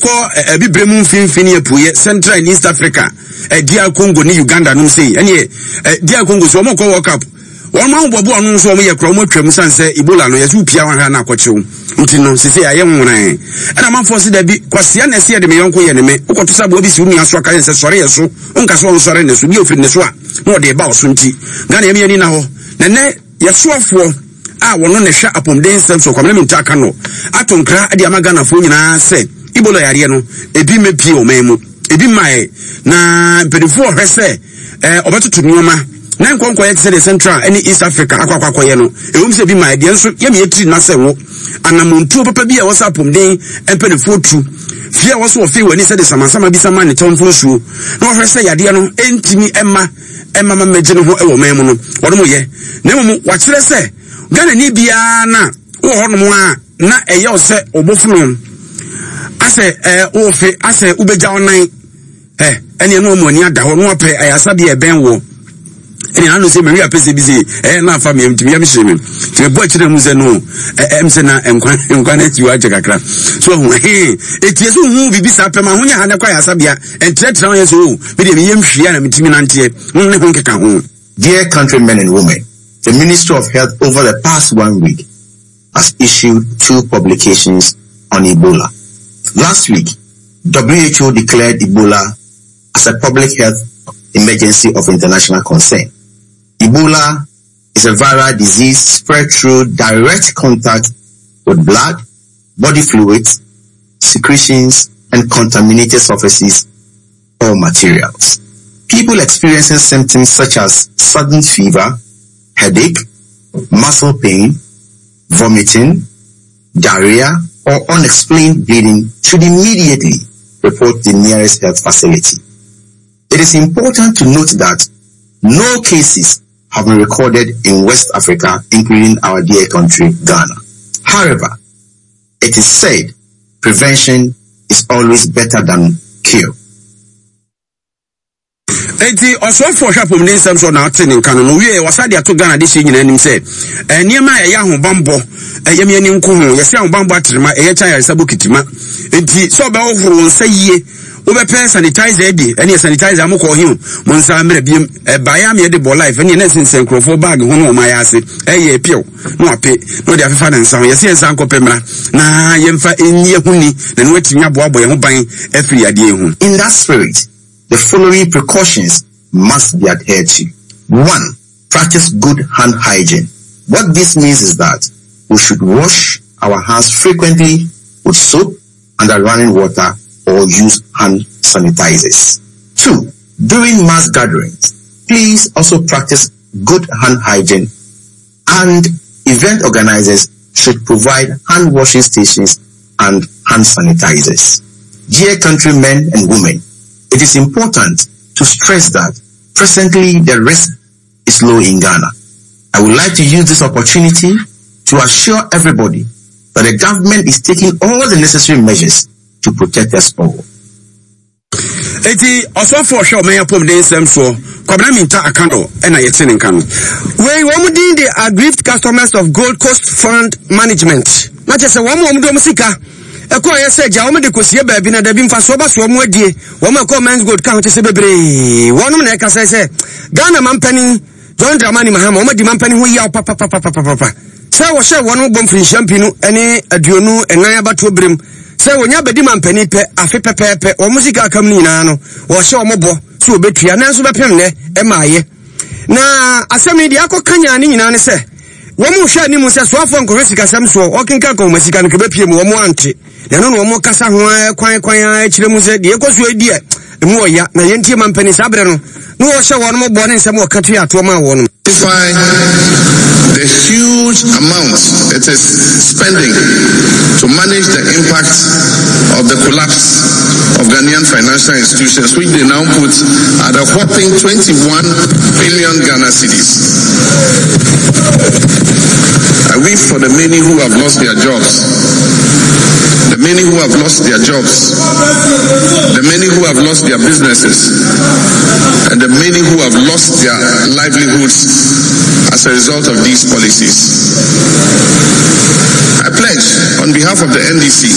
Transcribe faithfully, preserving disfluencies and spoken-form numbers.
Kɔ Abibire mu mfimfini apueɛ, Central and East Africa, D R Congo ne Uganda nom sei. Ɛneɛ D R Congo so wɔn kɔ World Cup, wɔn ahobɔbɔ ɔno nso wɔn yɛ kora wɔn atwam san sɛ Ebola no yɛsɛ wopia wɔn ahwɛ na akɔkyew. Nti no sese ayɛ nwonan ɛna amanfoɔ sɛ dabi kwasia na ɛsɛ yɛde me yɔnko yɛ ne me wokɔto sɛ aboa bi si wo nua so aka yɛn sɛ sɔre yɛ so, wonka sɛ ɔnsɔre ne so bi ofiri ne so a na ɔde ba ɔso. Nti Ghana yɛm yɛni na hɔ na nɛ yɛsoafoɔ a wɔno na hwɛ apɔmuden nsɛm so, Kwamina Minta aka no ato nkra de ama Ghanafoɔ nyinaa sɛ Ebola yareɛ no ebi mmɛpie ɔman mu, ebi mmaeɛ, na mpanimfoɔ ɔhwɛ sɛ ɛɛ ɔbɛtoto nneɛma na nkɔnkɔyɛ te sɛ deɛ Central ne East Africa akɔ akɔ akɔyɛ no. Ɛwom sɛ ebi mmaeɛ deɛ, nso yɛmi yɛtiri na sɛ wo anamontuo papa bi a ɛwɔ sɛ apɔmuden mpanimfoɔ tu fie a wɔso wɔfei wɔ ani sɛ de samansama bi sama ne tɔnfo nsuo na wɔhwɛ sɛ yadeɛ no ɛntumi ɛma ɛma ma mɛgye ne ho ɛwɔ ɔman mu no, wɔn mo yɛ. Na mmom wakyerɛ sɛ Ghana ni biara na wɔ hɔnom a na ɛyɛ wo sɛ ɔbɔfunu asɛ ɛɛ wɔfe asɛ wobɛgya wo nan ɛ ɛne ɛno ɔmo ani ada hɔ na wapɛ ayasabea ɛbɛn wɔ ɛne ano sɛ mɛwi apɛ sɛ bi sɛ ɛyɛ na afa mi ntumi yam hyerɛ mi nti mɛbɔ akyerɛ mu sɛ no ɛ ɛm sɛ na nkwa nkwa na ati wɔ akyɛ kakra so ɔho ɛhɛn etie so hu bibi saa pɛm ahonya ha ne kɔ ayasabea ɛntrɛtrɛ ho yɛ so o mi deɛ mi yam hwia na mi timi nanteɛ ho ne ho nkeka ho. Dear countrymen and women, the Ministry of Health over the past one week has issued two publications on Ebola. Last week, W H O declared Ebola as a public health emergency of international concern. Ebola is a viral disease spread through direct contact with blood, body fluids, secretions, and contaminated surfaces or materials. People experiencing symptoms such as sudden fever, headache, muscle pain, vomiting, diarrhea, or unexplained bleeding should immediately report the nearest health facility. It is important to note that no cases have been recorded in West Africa, including our dear country, Ghana. However, it is said prevention is always better than cure. Eti ɔsɔfo ɔhwɛ apɔmuden nsɛm so na ɔte ne nka no no wie wɔsa de ato Ghana de hyɛ nyinaa anim sɛ nneɛma a ɛyɛ ahobanbɔ ɛyɛ mi ani nko ho yɛsɛ ahobanbɔ aterema ɛyɛ kyɛn ayaresa bɔ. Enti sɛ ɔbɛhohoro wo nsa yie, wobɛpɛ sanitizer adi ɛne sanitizer mo kɔ ɔhe mo nsa mmerɛ biem ɛbaeɛ ama yɛde bɔ life ɛne ɛna sensɛn nkurɔfoɔ bag ho no ɔma yɛ ase ɛyɛ piɛw na wape na ɔde afefa ne nsa ho. Yɛsɛ yɛn nsa nkɔpɛ mmra na yɛmfa ɛnyi ɛho ni na ne watumi aboaboa yɛn ho ban afiri adeɛ ho. In that spirit, the following precautions must be adhered to. One, practice good hand hygiene. What this means is that we should wash our hands frequently with soap under running water or use hand sanitizers. Two, during mass gatherings, please also practice good hand hygiene and event organizers should provide hand washing stations and hand sanitizers. Dear countrymen and women, it is important to stress that presently the risk is low in Ghana. I would like to use this opportunity to assure everybody that the government is taking all the necessary measures to protect us all. Eti ɔsɔfo ɔhwɛ ɔman apɔmuden nsɛm soɔ, Kwabena Minta Akando, ɛna yɛte ne nka no. Wei wɔn din de Aggrieved Customers of Gold Coast Fund Management, na kyerɛ sɛ wɔn a wɔn de wɔn sika ɛkɔ yɛ sɛ gya wɔn de kɔsie baabi na dabi mfasoɔ ba so wɔn adie wɔn ɛkɔ Menzgold ka ho kyɛ sɛ bebree wɔnom na ɛka sɛ sɛ Ghana mampanin John Dramani Mahama wɔn adi mampanin ho yaw papapapapapa sɛ wɔhyɛ wɔn bɔ mfirinhyia mpinu ne aduonu ɛnan abatoɔ berem sɛ wɔnya bɛdi mampanin pɛ afe pɛpɛɛpɛ wɔn sika akam no nyinaa no wɔhyɛ wɔn bɔ sɛ wɔbɛtua, nanso bɛpem nnɛ ɛma ayɛ. Na asɛm yi deɛ akɔ kanya ne nyinaa ne sɛ wɔn hwɛ anim sɛ soafoɔ nkɔhwɛ sikasɛm soɔ ɔkenka nkɔhoma sika no kɛbɛpie mu wɔn ante na ɛno na wɔn kasa ho ara kwan kwan ara akyerɛ mu sɛ deɛ ɛkɔ so adi ɛ emu ɔya na yɛntie mampanin saa berɛ no na wɔhyɛ wɔn bɔ ne nsɛm wɔka to yɛ atoɔ maa wɔn. Identify the huge amount it is spending to manage the impact of the collapse of Ghanaian financial institutions, which they now put at a whopping twenty-one billion Ghana cedis. I weep for the many who have lost their jobs, the many who have lost their jobs, the many who have lost their businesses, and the many who have lost their livelihoods as a result of these policies. I pledge on behalf of the N D C